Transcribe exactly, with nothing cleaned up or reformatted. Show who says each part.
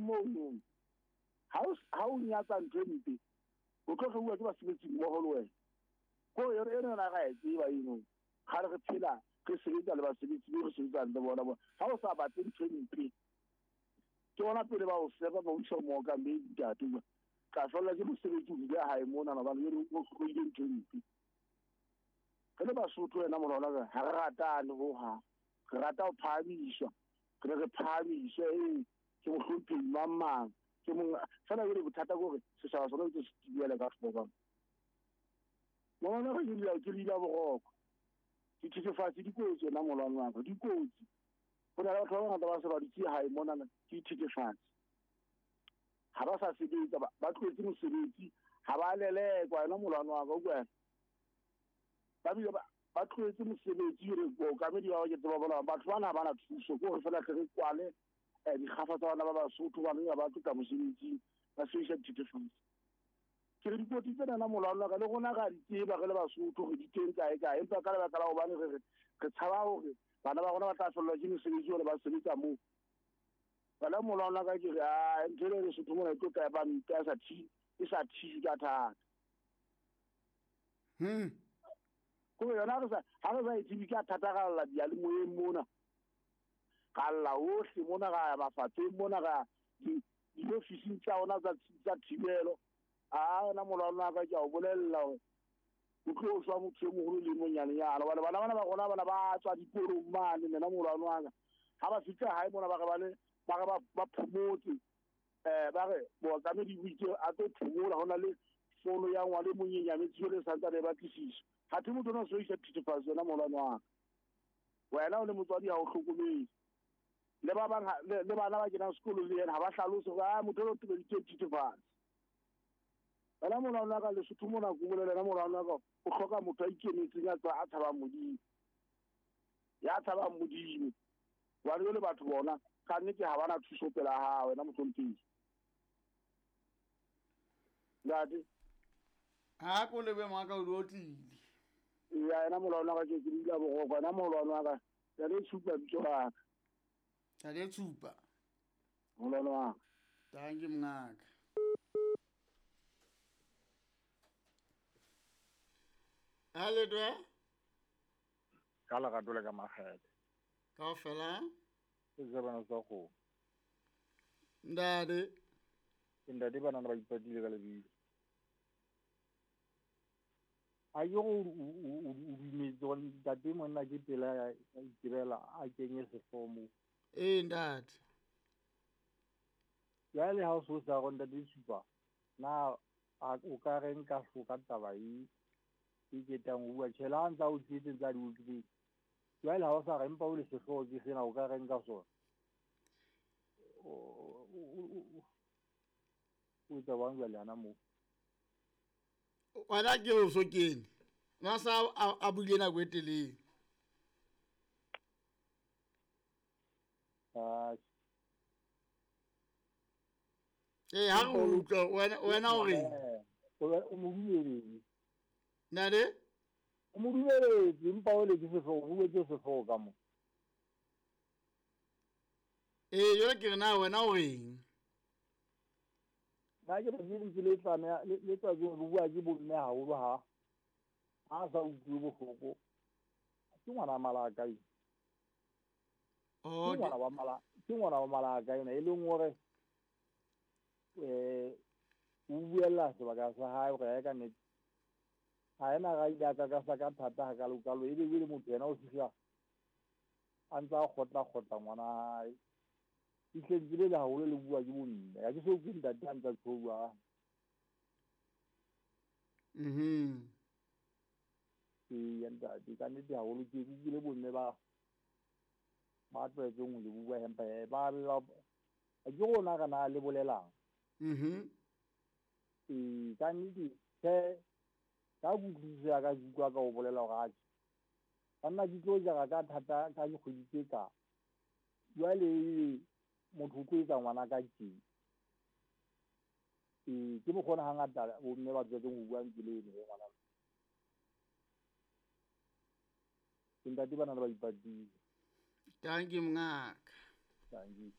Speaker 1: mono ha o ha o nyatsa ntho e mpe o tlo hlouwa ke basebetsi mmoho le wena ko e re na ga e tseba eno ga re phela re sebetsa le basebetsi be re sebetsang le bona bona ha o sa batle ntho e mpe ke bona pele ba o seba ba o isa mookamedi ntate ka fella ke mosebetsi o dule hae mona na bana le o hloile ntho e mpe re le Basotho wena molwana ha re ratane ho ha re rata ho phahamiswa re re phahamiswe ee ke mohlomphehi mang mang ke mong fela jwale bothata ke hore setjhaba sona ntse se tibela ka hloko molwana re ke ke lila boroko dithethefatsi di kotsi wena molwana wa ka di kotsi ho na le batho ba bangata ba se ba dutse hae monana ke dithethefatsi ha ba sa sebetsa ba tlohetse mosebetsi ha ba lelekwa wena molwana wa ka o kwena ba bile ba tlohetse mosebetsi re bookamedi ba ke tseba bona batho bana ha ba na thuso ke hore fela tle re kwale dikgafa tsa bana ba Basotho ba ba ba tloka mosebetsing ba sebedisa dithethefatsi ke re dikotsi tsena molwana wa ka le rona ra di tseba re le Basotho re di teng kae kae empa ka lebaka la hobane re re re tshaba hore bana ba rona ba tla fellwa ke mesebetsi hore ba sebetsa moo bana molwana wa ka ke re a ntho ena Lesotho mona e tlo tla ba mpe e sa thi e sa thijwe ka thata
Speaker 2: hmm
Speaker 1: ko yona re sa ha re sa e tsebe ka thatagalla diyalemoyeng mona ka lla hohle mona ra ya mafapheng mona ra diofising tsa rona tsa tsa thibelo a wena molwana wa ka ke a o bolella hore o tlo shwa motho e moholo le monyanenyana hobane bana bana ba rona bana ba tswa dikolong mane nna molwana wa ka ha ba fihla hae mona ba re ba le ba re ba phomotse um ba re mookamedi o itse a tlo phomola ho na le fono ya ngwana e monyenyane tseo le santsane ba tlisisa ha the motho ona o sebedisa dithethefatsi wena molwana wa ka wena o le motswadi ha o hlokomele le ba bang le bana ba kenang sekolo le yena ha ba hlalose hore a motho o tobeditse dithethefatsi wena molwana wa ka Lesotho mona ko bolela wena molwana wa ka o hloka motho a ikemetseng a tswa a tshabang Modimo ya tshabang Modimo wa le batho bona ka nnete ha bana thuso pela hao wena mohlomphehi ntate
Speaker 2: ha ko lebe maka o tlile
Speaker 1: ya yena molwana wa ka ke ke dula boroko wena molwana wa ka ya le tshupa bitso la ka
Speaker 2: ya le tshupa
Speaker 1: molwana wa ka
Speaker 2: thank you mngaka ha le dwe
Speaker 3: ka lerato le ka makgethe
Speaker 2: kaofela
Speaker 3: ke tsebana tsa kgomo
Speaker 2: ntate
Speaker 3: ntate bana ba ipatile ka lebitso a ke go o dumetse gore ntate monna ke pela ya itirela a kenye sehlooho moo
Speaker 2: ee ntate
Speaker 3: jwale ha o so sa go ntate supa na o ka reng ka hloka taba e e ketang ho bua tjhela ha ntsa o tletse ntsa di utlwile jwale ha o sa re empa o le sehlooho ke sena o ka reng ka sona o etsa bang jwale hana moo
Speaker 2: wena ke o so kene na sa a buile nako e telele ee ha re utlwa wena wena o reng
Speaker 3: o mo dumeletse
Speaker 2: ntate
Speaker 3: o mo dumeletse empa o le ke sehlooho o buetse sehlooho ka mo
Speaker 2: ee jwale ke re na wena o reng
Speaker 3: nna ke re lentswe le tlameha le tswa ke bua ke bomme haholo ha ha sa utlwe bohloko ke ngwana malaka e
Speaker 2: oh
Speaker 3: ke ngwana wa mala ke ngwana wa malaka ena e leng hore eh o buella sebaka sa hae hore ya ka nnete ha ena ga ile ka ka sa ka thata ha ka lokalo e be le motho yena o fihla a ntsa kgotla kgotla ngwana hae itlentse le haholo le bua ke bomme ha ke so ke ntate a ntsa tshouwa
Speaker 2: mhm
Speaker 3: ee ntate ka nnete haholo ke utlwile bomme ba ba tlwaetseng ho le bua empa ba ke rona re na le bolelang
Speaker 2: mhm
Speaker 3: ee ka nnete tjhe ka kutlwisiso ya ka ke utlwa ka o bolela hore atjhe banna ke tlo jara ka thata ka dikgwedi tse ka jwale motho o tlo etsa ngwana ka tje ee ke mokgona hangata bomme ba tswetseng ho bua ntse le eno e ngwana ke ntate bana le ba ipatile
Speaker 2: thank you mongaka
Speaker 3: thank you.